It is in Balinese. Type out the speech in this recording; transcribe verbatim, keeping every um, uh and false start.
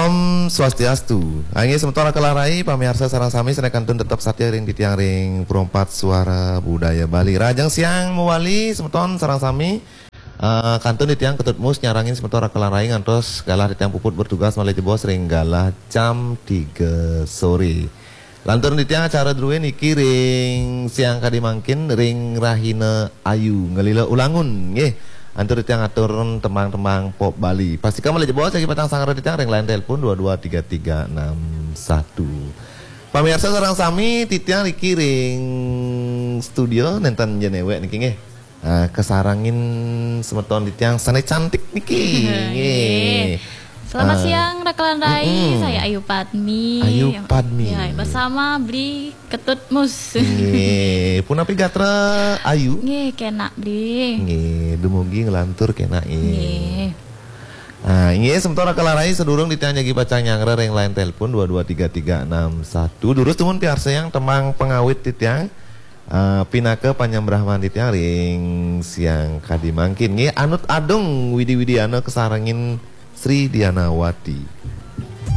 Om Swastiastu. Inggih semeton raka lan rai, pamiarsa sareng sami sané kantun tetep satia ring titiang ring Perempat Suara Budaya Bali. Rahajeng siang mawali semeton sareng sami. Eh, kantun titiang Ketut Mus nyarengin semeton raka lan rai ngantos galah titiang puput bertugas malih jebos ring galah jam tiga sore. Lantur titiang acara druwé niki ring siang kadi mangkin ring rahina Ayu ngelila ulangun nggih. Antuk titiang atur tembang-tembang pop Bali. Pastika malih jebos jagi pacang sangra titiang ring line telepon dua dua tiga tiga enam satu. Pamiarsa sareng sami, titiang niki ring studio nénten ja néwék niki nggih. Eh, kasarengin semeton titiang sané cantik niki. Nggih. Selamat Ah. siang raka lan rai, Mm-mm. saya Ayu Padmi. Ayu Padmi. Ya, bersama Bli Ketut Mus. Nggih, punapi gatra Ayu? Nggih, kénak Bli. Nggih, dumugi nglantur kénak nggih. Nggih. Ah, inggih semeton raka lan rai, sadurung titiang jagi pacang nyanggra ring line telepon dua dua tiga tiga enam satu. Durus dumun piarsayang tembang pangawit titiang. Ah, pinaka panyembrahman titiang ring siang kadi mangkin nggih, Anut Adung Widi Widiana kasarengin Sri Dianawati.